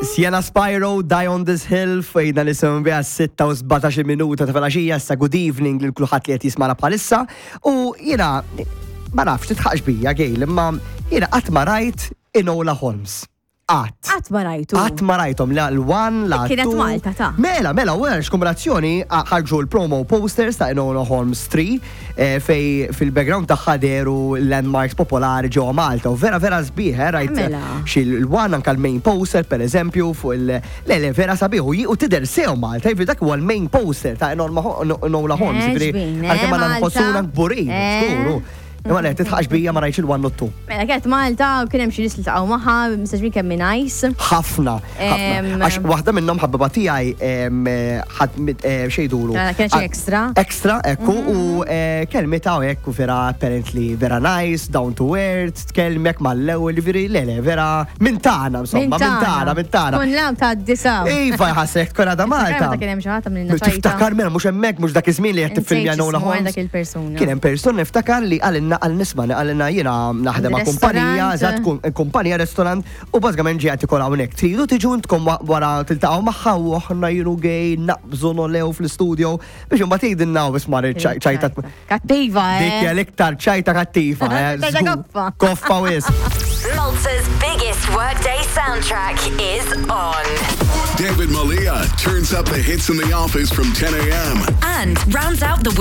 Sienna Spyro, Die on This Hill, fejna nisimgħu biha 6 u 17 minuta ta' filgħaxija, issa good evening lil kulħadd li qed jismana bħalissa. U jiena ma nafx titħaqx bija Gail, imma jiena qatt ma rajt Enola Holmes. Qatt. Qatt ma rajtu. Qatt ma rajthom la l-one, la Kienet two. Malta, ta'. Mela, mela, u għax kombinazzjoni ħarġu l-promo posters ta' Enola Holmes 3 fej fil-background tagħha dehru landmarks popolari ġewwa Malta. U vera vera sbieħ, rajt Mela. xi l-one anka l-main poster per eżempju fuq il le le vera sabiħ u u tidher sew Malta, jiġifieri dak huwa l-main poster ta' Enola Holmes, jiġifieri ġbin, għalkemm għandna Malta. nħossuna kburin, żgur. Imma le, titħaqx bija ma rajtx il-one u t-two. Mela kienet Malta u kien hemm xi nies li ltaqgħu magħha, mistax kemm hi nice. Ħafna, ħafna. Għax waħda minnhom ħabiba tiegħi ħadd xejdulu. Mela, kien xi extra. Extra, ekku, u kelmitha u hekk u vera apparently vera nice, down to earth, tkellmek mal-ewwel, jiġifieri le le, vera minn tagħna insomma, minn tagħna, minn tagħna. Kun law ta' disaw. Iva, ħassek tkun għadha Malta. Meta kien hemm xi ħadd għamlilna ċajta. Tiftakar mela mhux hemmhekk mhux dak iż-żmien li qed tiffilmja Insejt Enola x'ismu Holmes. dak il-persuna. Kien hemm persuna niftakar li qalilna għal nisma' qalilna jiena naħdem ma' kumpanija, Restaurant. eżatt kumpanija restaurant u bażikament ġej qed ikol hawnhekk. Tridu tiġu intkom wara tiltaqgħu magħha u aħna jienu gej naqbżu nolew fl-istudio biex imbagħad jgħidilna u isma' ċajta. Kattiva, eh. Dik hija l-iktar ċajta kattiva, eh. Ċajta Żgur. koffa. Koffa wisq. Malta's biggest workday soundtrack is on. David Malia turns up the hits in the office from 10 a.m. And rounds out the week.